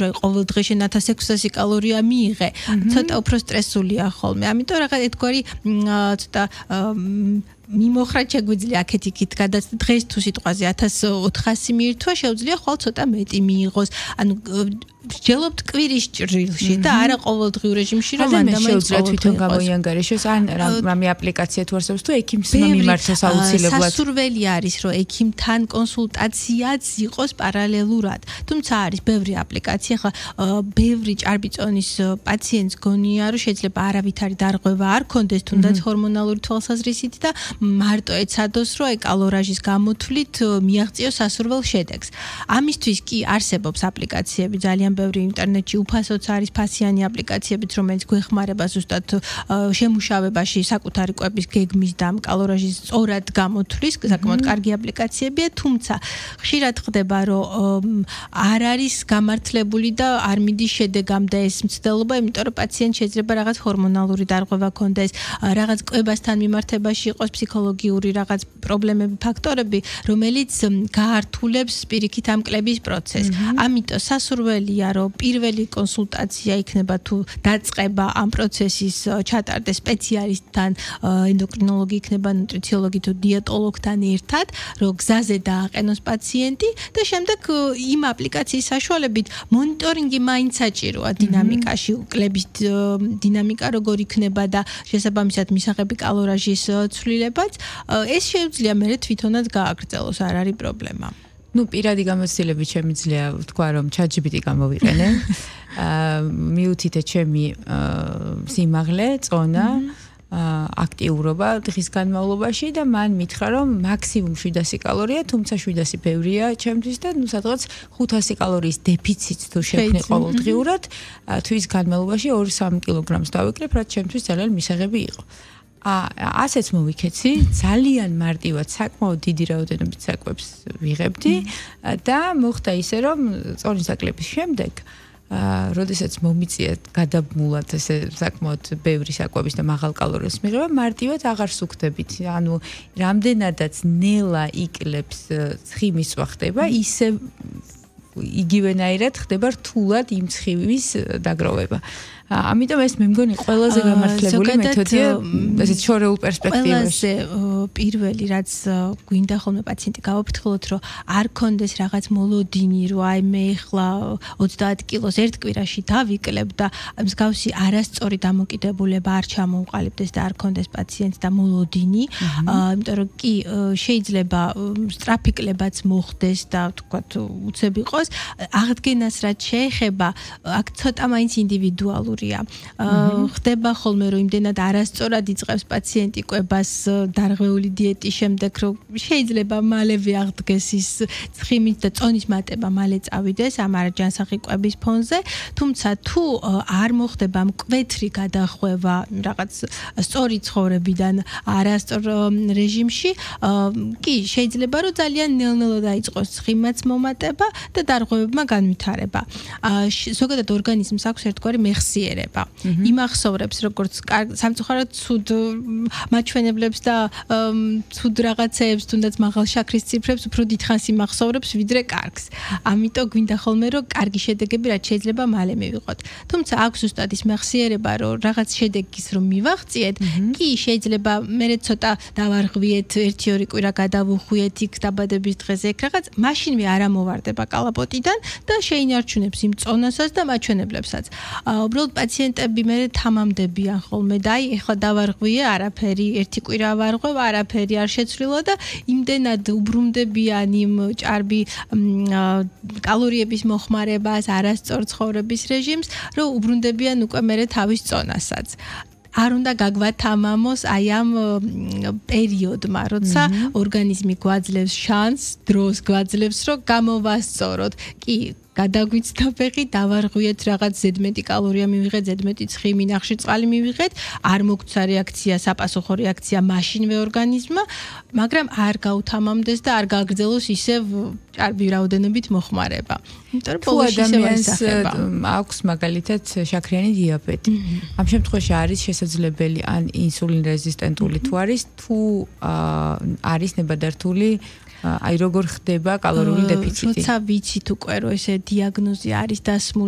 რომ ყოველდღე შენ 1600 კალორია მიიღე, ცოტა უფრო სტრესულია ხოლმე. ამიტომ რაღაც ერთგვარი ცოტა მიმოხრა შეგვიძლია აქეთ-იქით გადაწყდა დღეს თუ სიტყვაზე 1400 მიირთვა შეუძლია ხვალ ცოტა მეტი მიიღოს ანუ ვსჯელობთ კვირის ჭრილში და არა ყოველდღიურ რეჟიმში რომ ადამიანს შეუძლია თვითონ გამოიანგარიშოს ან რამე აპლიკაცია თუ არსებობს თუ ექიმმა მიმართოს აუცილებლად სასურველი არის რომ ექიმთან კონსულტაციაც იყოს პარალელურად თუმცა არის ბევრი აპლიკაცია ხა ბევრი ჭარბიწონის პაციენტს გონია რომ შეიძლება არავითარი დარღვევა არ კონდეს თუნდაც ჰორმონალური თვალსაზრისით და მარტო ეცადოს რომ კალორაჟის გამოთვლით მიაღწიოს სასურველ შედეგს. ამისთვის კი არსებობს აპლიკაციები ძალიან ბევრი ინტერნეტში უფასოც არის ფასიანი აპლიკაციებიც რომელიც გვეხმარება ზუსტად შემუშავებაში საკუთარი კვების გეგმის და კალორაჟის სწორად გამოთვლის საკმაოდ კარგი აპლიკაციებია თუმცა ხშირად ხდება რომ არ არის გამართლებული და არ მიდის შედეგამდე ეს მცდელობა იმიტომ რომ პაციენტ შეიძლება რაღაც ჰორმონალური დარღვევა ქონდეს რაღაც კვებასთან მიმართებაში იყოს ფსიქოლოგიური რაღაც პრობლემები, ფაქტორები, რომელიც გაართულებს პირიქით ამ კლების პროცესს. ამიტომ სასურველია, რომ პირველი კონსულტაცია იქნება თუ დაწყება ამ პროცესის ჩატარდეს სპეციალისტთან, ენდოკრინოლოგი იქნება, ნუტრიციოლოგი თუ დიეტოლოგთან ერთად, რომ გზაზე დააყენოს პაციენტი და შემდეგ იმ აპლიკაციის საშუალებით მონიტორინგი მაინც საჭიროა დინამიკაში, კლების დინამიკა როგორ იქნება და შესაბამისად მისაღები კალორაჟის ცვლილებაც ეს შეუძლია მე თვითონაც გააგრძელოს არ არის პრობლემა. ნუ პირადი გამოცდილებით შემიძლია ვთქვა რომ ChatGPT გამოვიყენე. მიუთითე ჩემი სიმაღლე, წონა, აქტიურობა დღის განმავლობაში და მან მითხრა რომ მაქსიმუმ 700 კალორია, თუმცა 700 ბევრია ჩემთვის და ნუ სადღაც 500 კალორიის დეფიციტს თუ შევქნი ყოველდღიურად, თვის განმავლობაში 2-3 კილოგრამს დავიკრებ, რაც ჩემთვის ძალიან მისაღები იყო. ასეც მოვიქეცი, ძალიან მარტივად საკმაოდ დიდი რაოდენობით საკვებს ვიღებდი და მოხდა ისე რომ წონის აკლების შემდეგ როდესაც მომიწია გადაბმულად ესე საკმაოდ ბევრი საკვების და მაღალ კალორიას მიღება, მარტივად აღარ სუქდებით. ანუ რამდენადაც ნელა იკლებს ცხიმის წვა ხდება, ისე იგივენაირად ხდება რთულად იმ ცხიმის დაგროვება. ამიტომ ეს მე მგონი ყველაზე გამართლებული მეთოდია ესეთ შორეულ პერსპექტივაში. ყველაზე პირველი რაც გვინდა ხოლმე პაციენტი გავაფრთხილოთ რომ არ კონდეს რაღაც მოლოდინი რომ აი მე ახლა 30 კილოს ერთ კვირაში დავიკლებ და მსგავსი არასწორი დამოკიდებულება არ ჩამოუყალიბდეს და არ კონდეს პაციენტს და მოლოდინი, იმიტომ რომ კი შეიძლება სწრაფი კლებაც მოხდეს და თქვათ უცებ იყოს, აღდგენას რაც შეეხება აქ ცოტა მაინც ინდივიდუალური ხდება ხოლმე რომ იმდენად არასწორად იწყებს პაციენტი კვებას დარღვეული დიეტის შემდეგ რომ შეიძლება მალევე აღდგეს ის ცხიმის და წონის მატება მალე წავიდეს ამ არაჯანსაღი კვების ფონზე თუმცა თუ არ მოხდება მკვეთრი გადახვევა რაღაც სწორი ცხოვრებიდან არასწორ რეჟიმში კი შეიძლება რომ ძალიან ნელ-ნელა დაიწყოს ცხიმაც მომატება და დარღვევებმა განვითარება ზოგადად ორგანიზმს აქვს ერთგვარი მეხსიერება იმახსოვრებს როგორც სამწუხაროდ ცუდ მაჩვენებლებს და ცუდ რაღაცეებს თუნდაც მაღალ შაქრის ციფრებს უფრო დიდხანს იმახსოვრებს ვიდრე კარგს. ამიტომ გვინდა ხოლმე რომ კარგი შედეგები რაც შეიძლება მალე მივიღოთ. თუმცა აქვს ზუსტად ის მეხსიერება რომ რაღაც შედეგის რომ მივაღწიეთ, კი შეიძლება მე ცოტა დავარღვიეთ 1-2 კვირა გადავუხვიეთ იქ დაბადების დღეზე ეგ რაღაც მაშინვე არ ამოვარდება კალაპოტიდან და შეინარჩუნებს იმ წონასაც და მაჩვენებლებსაც. უბრალოდ პაციენტები მე თამამდებიან ხოლმე და აი ეხლა დავარღვიე არაფერი ერთი კვირა ვარღვევ არაფერი არ შეცვლილა და იმდენად უბრუნდებიან იმ ჭარბი კალორიების მოხმარებას არასწორ ცხოვრების რეჟიმს რომ უბრუნდებიან უკვე მე თავის წონასაც არ უნდა გაგვათამამოს აი ამ პერიოდმა, როცა ორგანიზმი გვაძლევს შანსს, დროს გვაძლევს, რომ გამოვასწოროთ. კი, გადაგვიცდა ფეხი, დავარღვიეთ რაღაც ზედმეტი კალორია მივიღეთ, ზედმეტი ცხიმი, ნახშირ წყალი მივიღეთ, არ მოგცა რეაქცია, საპასუხო რეაქცია მაშინვე ორგანიზმმა, მაგრამ არ გაუთამამდეს და არ გააგრძელოს ისევ ჭარბი რაოდენობით მოხმარება. იმიტომ რომ ბოლოში ისევ ისახება. აქვს მაგალითად შაქრიანი დიაბეტი. ამ შემთხვევაში არის შესაძლებელი ან ინსულინ რეზისტენტული თუ არის, თუ არის ნებადართული აი როგორ ხდება კალორიული დეფიციტი. როცა ვიცით უკვე რომ ესე დიაგნოზი არის დასმული